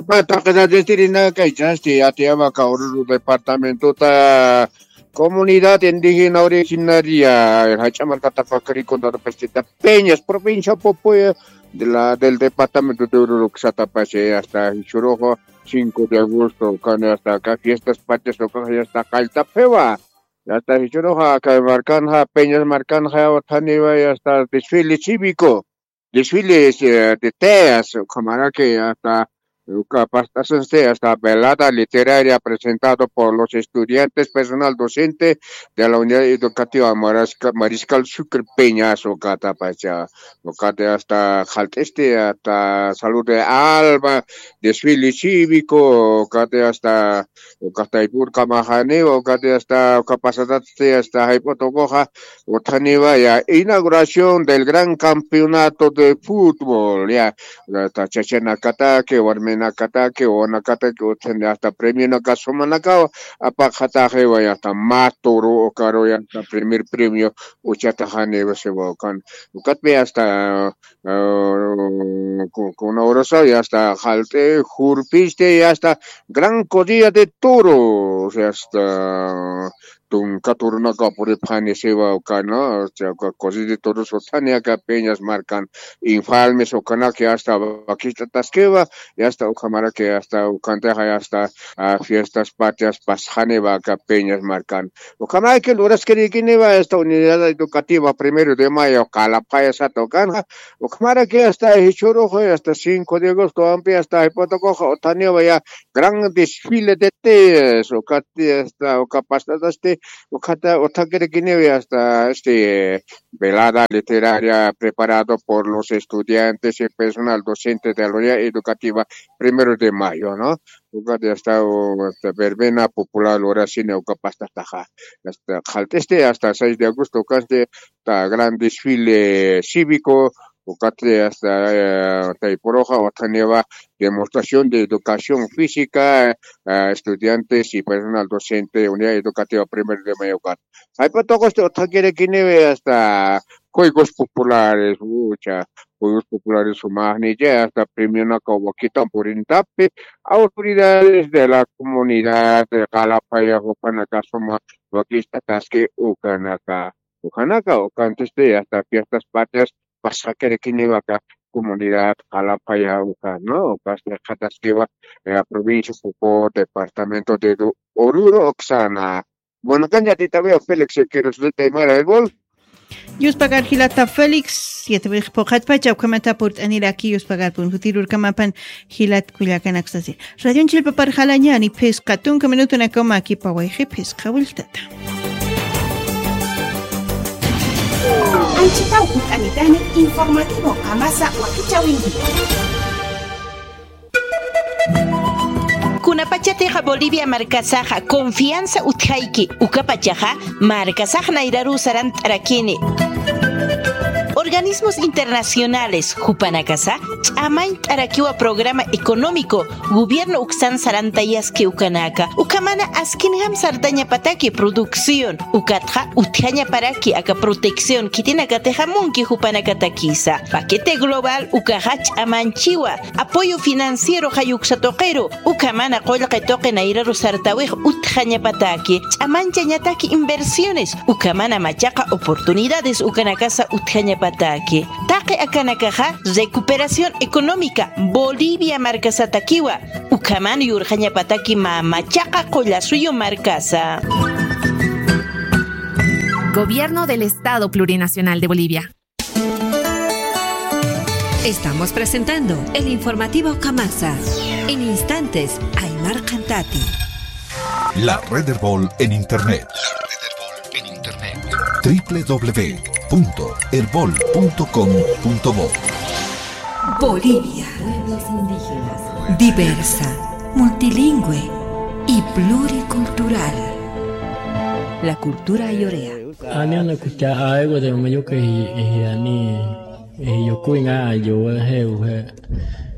Pata qidadestirina kaychasti Atiabaca Oruro departamentota comunidad indígena originaria jach'a markata Pacaricondaro pestita Peñas, provincia Popoya de la, del departamento de Oruro, ksatapashe hasta Jichhuruqa cinco de agosto, kani hasta acá fiestas patrias, ukaxa hasta qalltapxiwa. Hasta Jichhuruqa, kay markanxa, Peñas markanxa, uthaniwa, hasta desfile cívico, desfile, eh, de teas, ukhamaraki, hasta, uka past'asansti, hasta velada literaria presentado por los estudiantes, personal docente de la unidad educativa Marisca-, Mariscal Sucre Peñas, ukatapacha, ukati hasta qallt'isti, hasta Salud de Alma, desfile cívico, ukati hasta, uka taypurkamaxaniwa, ukati hasta, uka pasadatsti hasta jayp'utukuxa, uthaniwa ya, inauguración del gran campeonato de fútbol, ya, hasta chachanakataki, warminakataki, wawanakataki, uthani hasta premionaka sumanakawa, apaqataxiwa, ya, hasta maturu, ukaru, ya, hasta primer premio, uchataxaniwa, siwa, ukan, ukatpi hasta, ah, ku-, kuna urasaw, ya está, jalt'e, jurpiste, ya está, gran corrida de toros, ya está, tunka turunaka puripxani siwa uka, ¿no? O sea, uka cosita de toros uthani aka Peñas markan, Infalmes ukanaki hasta vaquist'ataskiwa, y hasta ukhamaraki hasta ukantixa hasta, ah, fiestas patrias pasxaniwa aka Peñas markan. Ukhamaraki luraskirikiniwa esta unidad educativa Primero de Mayo, Calapaya sata ukanxa, ukhamaraki hasta jichhurux, hasta cinco de agosto ampi hasta jayp'utukuxa uthaniwa ya gran desfile de tías, ukati hasta uka past'atasti, ukata uthakirikiniwa hasta este velada literaria preparado por los estudiantes y personal docente de la unidad educativa Primero de Mayo, ¿no? Ukati hasta, u-, hasta verbena popular lurasini uka past'ataxa. Hasta qhalt'isti hasta seis de agosto, ukasti hasta gran desfile cívico, ukati hasta, eh, taypuruxa uthaniwa demostración de educación física, eh, estudiantes y personal docente, unidad educativa Primero de Mayo, ukat. Jayp'utukusti uthakirikiniwa hasta juegos populares, ucha, juegos populares sumaqnicha, hasta premionaka wakitan purintapi, autoridades de la comunidad, de Calapaya, jupanaka suma, wakist'ataski ukanaka, ukanaka, ukantisti, hasta fiestas patrias, pasxakirikiniwa aka comunidad Calapaya, uka, ¿no? Ukasti qhataskiwa, eh, provincia Jujuy, departamento de Du-, Oruro, uksana. Bueno, kan yatitawi Félix Quirós de Aymara Erbol. Yuspagar jilata Félix, yatawix phuqhatpacha ukhamata purt'aniraki yuspagar pun jutirurkamapan jilat kullakanaksasi. Radion chilpapar jalañani phisqa tunka minutunakama akipawayxi phisqa willtata. Anchitaw purt'anitani informativo Qamasa wakichawinki. Kunapachatixa Bolivia markasaxa confianza utjayki, ukapachaxa markasax nayraruw sarant'arakini. Organismos internacionales jupanakasa ch'amañt'arakiwa programa económico gobierno uksan sarantayaski ukanaka, ukhamana askinjam sartañapataki producción, ukatxa utjañaparaki aka protección khitinakatixa munki jupanakatakisa. Paquete global ukaxa ch'amanchiwa, apoyo financiero jayuksa tuqiru, ukhamana qullqi tuqi nayraru sartawix utjañapataki, ch'amanchañataki inversiones, ukhamana machaqa oportunidades ukanakasa utjañapataki. Taqi akanakaxa recuperación económica Bolivia markasatakiwa, ukhaman yurxañapataki mä machaqa qullasuyu markasa. Gobierno del Estado Plurinacional de Bolivia. Estamos presentando el informativo Qamasa. En instantes, Aymar Cantati. La Red Erbol en Internet. La Red Erbol en Internet. W W W punto erbol punto com punto bo. Bolivia. Pueblos indígenas. Diversa, multilingüe y pluricultural. La cultura ayorea. Ani una kucha aiwa de mayuka y, y ani, y yo kuinga yo he, he,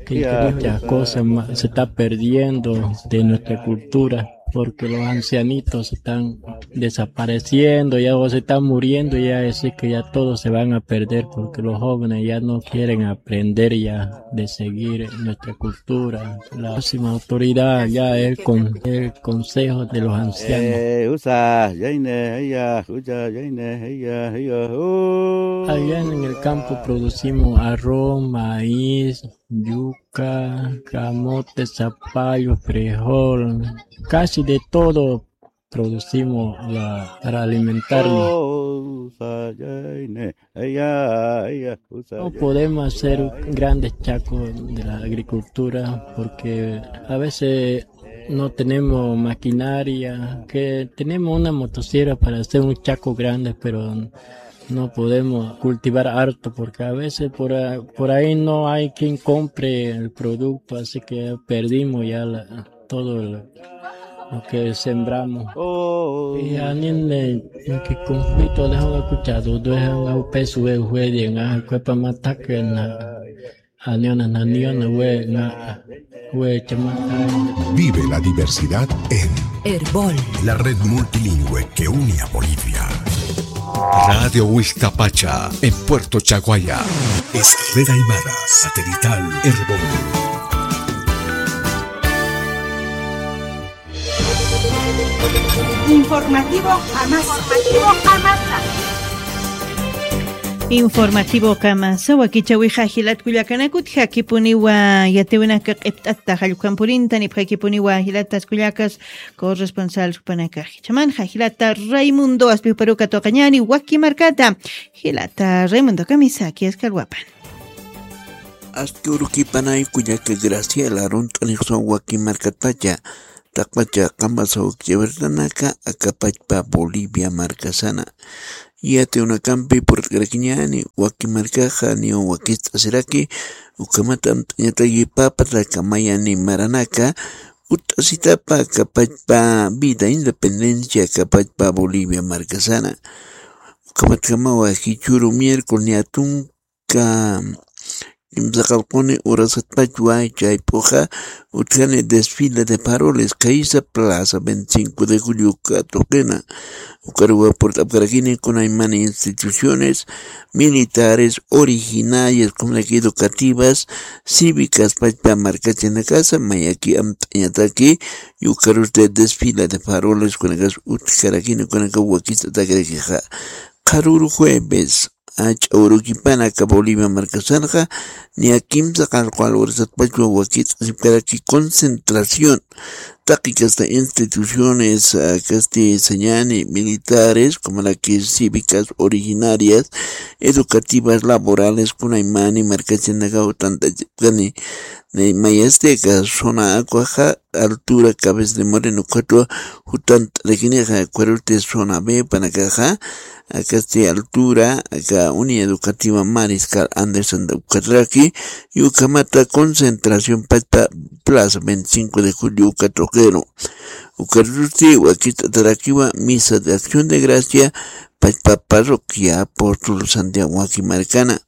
que muchas cosas ma-, se está perdiendo de nuestra cultura, porque los ancianitos están desapareciendo, ya o se están muriendo, ya es que ya todos se van a perder, porque los jóvenes ya no quieren aprender ya de seguir nuestra cultura. La máxima autoridad ya el con-, el Consejo de los Ancianos. Eh, usa, yaine, ella, usa, yaine, ella, ella, oh. Allá en el campo producimos arroz, maíz, yuca, camote, zapallo, frijol, casi de todo producimos la, para alimentarnos. No podemos hacer grandes chacos de la agricultura porque a veces no tenemos maquinaria, que tenemos una motosierra para hacer un chaco grande, pero no podemos cultivar harto porque a veces por a-, por ahí no hay quien compre el producto, así que perdimos ya la, todo lo, lo que sembramos. Oh. Y anin de, de que conflicto de escuchado, de un peso de juez, en a cuepa mata que na, aniona, na, niona, we, na, we, chama. Vive la diversidad en Erbol, la red multilingüe que une a Bolivia. Radio Huixtapacha, en Puerto Chaguaya. Es red aymara, satelital, Erbol. Informativo Kamasa. Informativo Kamasa. Informativo Kamasa, wakichäwixa jilat kullakanaka, utjakipuniwa yatiwinaka q'ipt'ata jallukam purinta, nipxakipuniwa jilatas kullakas corresponsal jupanakax. Jichhamanxa jilata Raimundo Aspiw Paruka tuqañäni waki markata. Jilata Raimundo, kamisaki askalwapan. Aski urukipanay kullaka Graciela, arunt'anixsaw waki markatpacha, taqpacha qamasa ukchawartanaka, akapachpa Bolivia markasana. Yatiwinakampi purt'karakiñäni, waki markaxa niw wakist'asiraki, ukhamat amt'añataki papa taqi mayani maranaka, utt'asitapa akapachpa vida independencia, akapachpa Bolivia markasana. Ukhamatjamawa jichhüru miércoles niya tunka kimsaqallquni urasatpachwa chayp'uxa utjani desfile de faroles, khaysa plaza veinticinco de julio katuqina. Ukaruwa purt'apkarakini kunaymani instituciones militares, originarias, comunidad educativas, cívicas, pachpa markachinakasa, mayaki amt'añataki, yukarusti desfile de faroles kunakas utjarakini, kunaka wakist'atakarakixa. Qharüru jueves, ach'a urukipana aka Bolivia markasanxa, niya kimsaqallqu urasatpachwa wakist'asipkaraki concentración. Taqi kasta instituciones, ah, kasti sañani militares, como la que cívicas originarias, educativas, laborales, kunaymani markachinakaw tantachipkani, ni mayasti aka zona akwaxa, altura Cabeza de Moreno ukhatwa jutant'arakinixa, ukharusti zona B panakaxa, akasti altura, aka Unidad Educativa Mariscal Anderson ukhatraki, y ukhamata concentración pachpa plaza veinticinco de julio uka tuqiru. Ukarusti wakist'atarakiwa misa de acción de gracia, pachpa parroquia apóstol Santiago waki markana.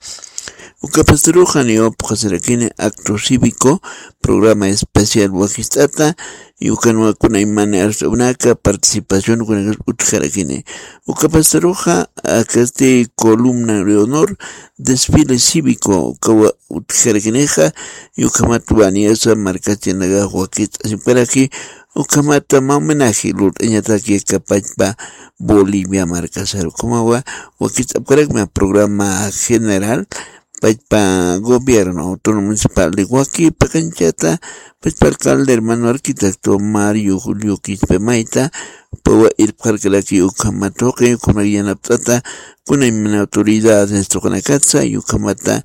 Uka pastaruxa niwa phuqasirakini acto cívico, programa especial wakist'ata, y ukanwa kunaymani arst'awinaka participación kunakas utjarakini. Uka pastaruxa, akasti columna de honor, desfile cívico, ukawa utjarakinixa, y ukhamatwa niyasa markachinakax wakist'asipkaraki, ukhamata mä homenaje lurt'añataki aka pachpa Bolivia markasar. Ukhamawa wakist'apkarakma programa general, pachpa gobierno autónomo municipal de Huaquipa kanchata, pachpa alcalde hermano arquitecto Mario Julio Quispe Maita, pawa irpxarkaraki ukhama tuqi, ukhamak yanapt'ata, kunaymana autoridades tuqinakatsa, y ukhamata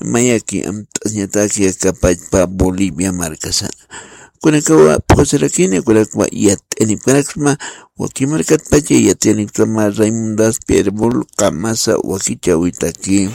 mayaki amt'añataki aka pachpa Bolivia markasana. Kunakawa phuqasirakini, kunakawa yat'anipkaraksma, waki markatpacha yat'anipkama Raimundo Aspiw Paruka masa wakichäwitaki.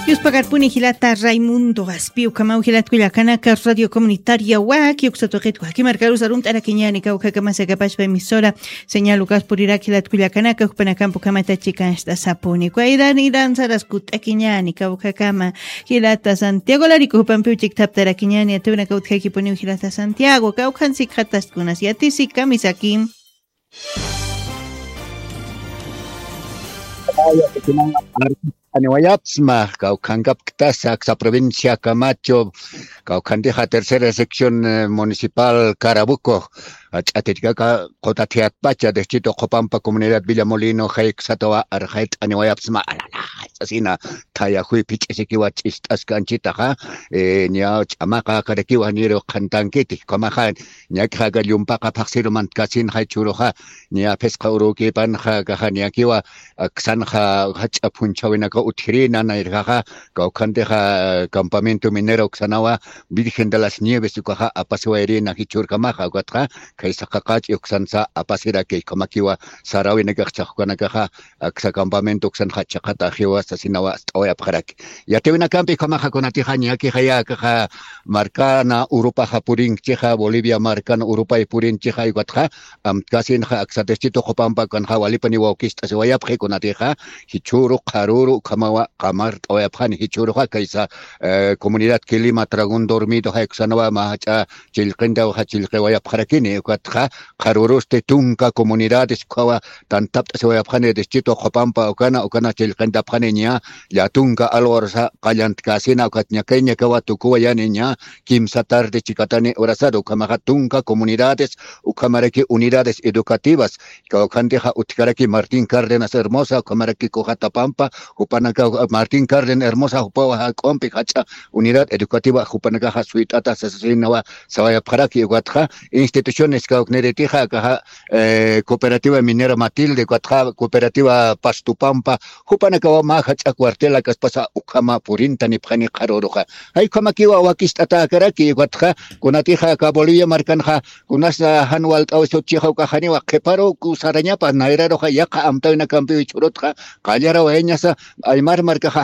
Yuspakarpuni jilata Raimundo Aspiw, ukhamaw jilat kullakanaka Radio Comunitaria waki uksa tuqit waki markarus arunt'arakiñäni, kawkhakamasa aka pachpa emisora señal ukas purirak jilat kullakanaka, jupanakamp ukhamata chikancht'asapuni. Kwayran iran saras kutt'akiñäni, kawkhakama jilata Santiago Larico jupampiw chikthaptarakiñäni, atiwinaka utjakipuniw jilata Santiago, kawkhan sikxatast kunas yatisi, kamisaki. Aniwayapsma, kawkhankapktasa, aksa provincia Camacho, kawkhantixa tercera sección, eh, municipal Carabuco, ach'atirkaka, qutatiyatpacha, distrito Qhupampa, comunidad Villamolino, jayksatawa, arxayt'aniwayapsma, alala, sasina, thayajuy phich'isikiwa ch'ist'askanchitaxa, eh, ña ch'amaqa karakiwa niru qhantankiti, kamaxa, ñak'axa aka llumpaqa phaqsiru mantkasin jay churuxa, ña phisqa urukipanxa, kaxa ñakiwa, aksanxa, jach'a phunchhawinaka utjirina, nayrjaxa, kawkhantixa, campamento minero uksanawa, Virgen de las Nieves ukaxa, apasiwayrina jichhürkamaxa, ukatxa, khaysa qaqach'i uksansa, apasiraki, kamakiwa, sarawinakax chhaxkanakaxa, aksa campamento uksanxa chiqata ajiwa sasinawa ast'awayapxaraki. Yatiwinakampi ukhamaxa kunatixa ñakixaya akaxa markana urupaxa purinchixa, Bolivia markana urupay purinchixa, ukatxa amtkasinxa aksa distrito Qhupampa ukanxa walipaniwa wakist'asiwayapxi kunatixa, jichhüru qharüru ukhamawa qamart'awayapxani jichhüruxa kaysa, eh, comunidad Quilima Dragón Dormido jay uksanawa mä jach'a chillqintawxa chillqiwayapxarakini, ukatxa qharürusti tunka comunidades ukhawa tantapt'asiwayapxani distrito Qhupampa ukana, ukana chillqinta paniña, llatunka alwarsa qallantkasina ukat ñakay ñakawa tukuwayaniña, kimsa tarde chikatani urasar ukhamaxa tunka comunidades ukhamaraki unidades educativas kawkhantixa utkaraki Martín Cárdenas Hermosa ukhamaraki Cojatapampa, jupanaka Martín Cárdenas Hermosa jupawa jak'umpi jach'a unidad educativa jupanakaxa suyt'ata sasasinawa sawayapxaraki ukatxa instituciones kawkniritixa akaxa cooperativa minera Matilde ukatxa cooperativa Pastupampa jupanakawa mä jach'a cuartela kaspasa ukhama purinta nipxani qharuruxa. Jay ukhamakiwa wakist'atäkaraki ukatxa kunatixa aka Bolivia markanxa kunasa jan walt'aw sutchixa ukajaniwa qhiparu kusarañapa nayraruxa yaqa amtawinakampiwi churutxa qallarawayañasa aymar markaxa